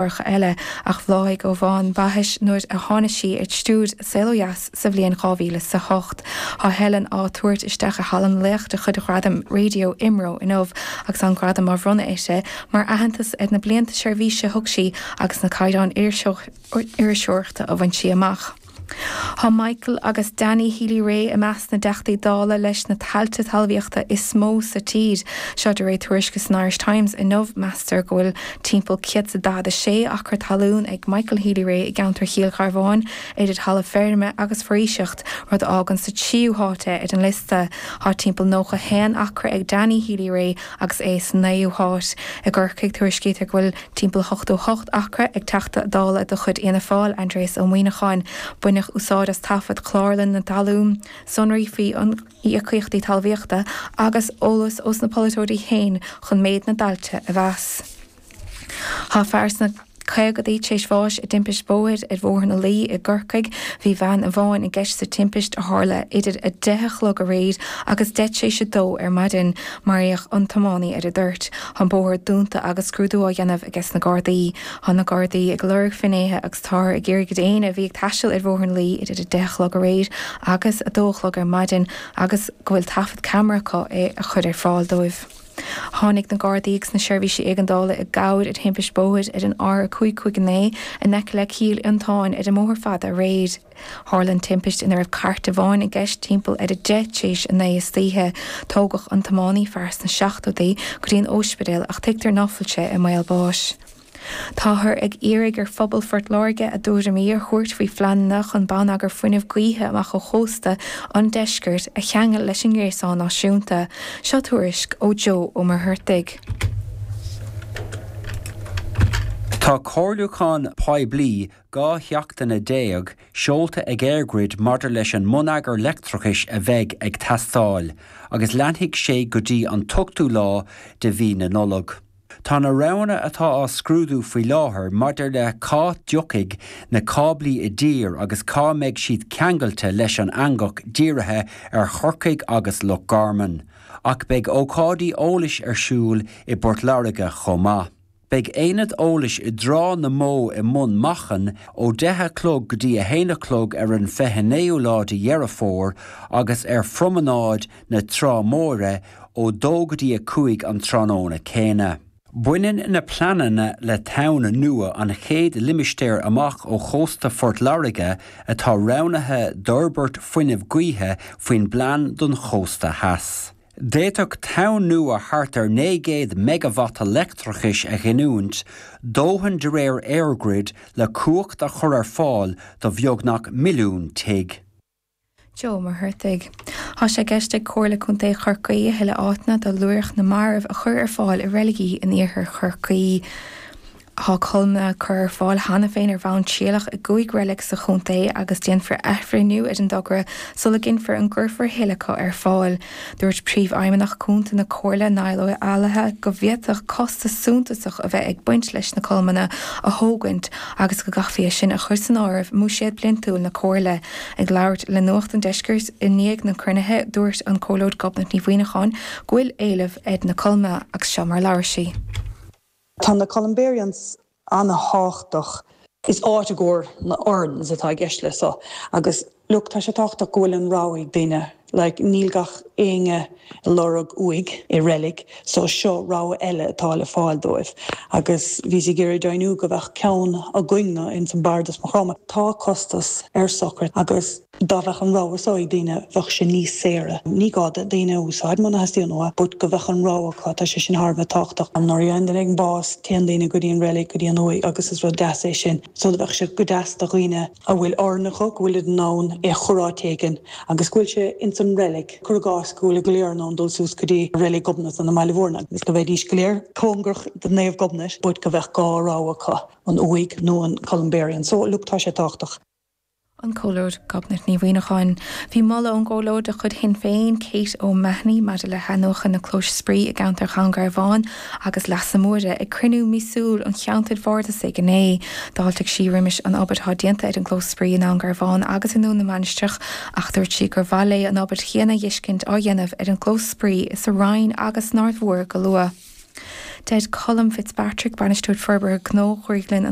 Cláracha eile, ach bhláthaigh ó bhonn baithis nuair a tháinig sí ar stiúir Saol Ó Dheas sa bhliain 2008. Tá Helen á tabhairt isteach i Halla na Laoch de chuid Ghradaim Raidió IMRO inniu agus an gradam á bhronnadh uirthi mar aitheantas ar na blianta seirbhíse a thug sí agus na caighdeáin iriseoireachta a bhain sí amach. Tá Michael agus Danny Healy-Rae i measc na dTeachtaí Dála leis na tailte talmhaíochta is mó sa tír. Seo de réir tuairisce san Irish Times inniu. Meastar go bhfuil timpeall 146 acra talún ag Michael Healy-Rae i gceantar Chill Gharbháin, idir thalamh feirme agus foraoiseacht, rud a fhágann sa tríú háit é ar an liosta. Tá timpeall 91 acra ag Danny Healy-Rae agus é sa naoú háit. I gCorcaigh, tuairiscítear go bhfuil. Timpeall 88 acra ag Teachta Dála de chuid Fhianna Fáil, Aindrias Ó Muimhneacháin. Baineadh úsáid as taifead Chlárlann na Talún, sonraí faoi íocaíochtaí talmhaíochta agus eolas ós na polaiteoirí féin chun méid na dtailte a mheas. Tá fear sna caogadaí tar éis bháis i dtimpist bóthair ar Bhóthar na Laoi i gCorcaigh. Bhí veain amháin i gceist sa timpist a tharla idir 10 a chlog aréir agus 10 tar éis 2 ar maidin. Maraíodh an tiománaí ar an dtoirt. Tá an bóthar dúnta agus scrúdú á dhéanamh ages na Gardaí. Tá na Gardaí ag lorg finnéithe agus táthar ag iarraidh ar éinne a bhí ag taisteal ar Bhóthar na Laoi idir 10 a chlog aréir agus 2 a chlog ar maidin agus go bhfuil taifead ceamara acu é a chur ar fáil dóibh. Tháinig na Gardaí agus na seirbhísí éigeandála i gcabhair ar thimpist bóthair ar an R559 in aice le Cill Fhionntáin ar an mBóthar Fada aréir. Tharla an timpist ina raibh cairt amháin i gceist timpeall ar 10 tar éis 9 istoíche. Tógadh an tiománaí, fear sna seachtóidí, go dtí an óispidéal ach tuigtear ná fuil sé i mbaol báis. Táthar ag iarraidh ar phobal Phort Láirge a dtuairimí a thabhairt faoi phleananna chun bonneagar fuinnimh gaoithe amach ó chósta an deiscirt a cheangal leis an ngréasán náisiúnta. Seo tuairisc ó Joe Ó Muircheartaigh. Tá comhairliúchán poiblí 12 sheachtaine seolta ag EirGrid maidir leis an mbonneagar leictreachais a bheidh ag teastáil, agus leanfaidh sé go dtí an t-ochtú lá de mhí na Nollag. Tá na roghanna atá á scrúdú faoi láthair maidir le cá dtiocfaidh na cáblaí i dtír agus cá mbeidh siad ceangailte leis an eangach dírithe ar Chorcaigh agus Loch Garman, ach beidh ócáidí eolais ar siúl i bPort Láirge chomh maith. Beidh aonad eolais i dTráth na mBó i mBun Machan ó 10 a chlog go dtí 1 a chlog ar an 29ú lá de Dheireadh Fómhair agus ar Phromanáid na Trá Móire ó 2 go dtí 5 an tráthnóna céanna. Baineann na pleananna le tonn nua, an chéad limistéar amach ó chósta Phort Láirge atá roghnaithe d'fhorbairt fuinnimh gaoithe faoin bPlean don Chósta Theas. D'fhéadfadh tonn nua thart ar 900 meigeavata leictreachais a ghiniúint, dóthain de réir EirGrid le cumhacht a chur ar fáil do bheagnach milliún tigh. Joe Ó Muircheartaigh. Tá sé i gceist ag Comhairle Contae Chorcaí a thuilleadh áiteanna do luaithreach na marbh a chur ar fáil i reiligí in iarthar Chorcaí. Tá colmlanna curtha ar fáil cheana féin ar bhonn trialach i gcúig reilig sa chontae agus déanfar athbhreithniú ar an dtogra sula gcinnfear an gcuirfear a thuilleadh acu ar fáil. Dúirt Príomhfheidhmeannach Cúnta na Comhairle, Niall Ó Eallaithe, go bhféadfadh costas suntasach a bheith ag baint leis na colmlanna a thógaint agus go gcaithfí é sin a chur san áireamh i mbuiséad bliantúil na Comhairle. Ag labhairt le Nuacht an Deiscirt i ndiaidh na cruinnithe, dúirt an Comhairleoir Gobnait Ní Mhuineacháin go bhfuil éileamh ar na colmlanna agus seo mar a labhair sí. Tá na columbariums ana-thábhachtach. Is áit i gcomhair na urns atá i gceist le so agus look tá sé tábhachtach go bhfuil an rogha ag daoine like níl gach éinne ag lorg uaigh i reilig so seo rogha eile atá le fáil dóibh agus bhíos ag iarraidh deimhniú go bheadh ceann againn-ne ins an Bardas Maigh Chromtha. Tá costas ar sochraid agus Dá bheadh an rogha so ag daoine, bheadh sé níos saoire. Ní gá do daoine a úsáid muna theastaíonn uathu, but go bheadh an rogha acu, tá sé sin thar a bheith tábhachtach. Nuair a fhaigheann duine éigin bás, téann daoine go dtí an reilig, go dtí an uaigh agus is rud deas é sin. So bheadh sé go deas do dhaoine a bhfuil urn acu, go bhfuilid in ann é a chur áit éigin agus go bhfuil sé ins an reilig. Cuir i gcás go bhfuil go léir in ann dul suas go dtí reilig Ghobnait i mBaile Mhúirne agus go mbeidís go léir cóngarach do Naomh Gobnait, but go bheadh dhá rogha acu, an uaigh nó an columbarium. So look, tá sé tábhachtach. An Comhairleoir Gobnait Ní Mhuineacháin. Bhí moladh ón gComhairleoir de chuid Shinn Féin, Kate O'Mahony, maidir le hathnuachan na clóis spraoi i gceantar Dhún Garbhán agus Leasa Móire ag cruinniú míosúil an cheantair bhardasaigh inné. D'fháiltigh sí roimis an obair atá déanta ar an gclós spraoi i nDún Garbhán agus i nDún na Mainistreach ach dúirt sí gur mhaith léi an obair chéanna a fheiscint á dhéanamh ar an gclós spraoi sa Rinn agus san Aird Mhór go luath. Deir Colm Fitzpatrick, Bainisteoir Forbartha Gnó Ghrioglann an.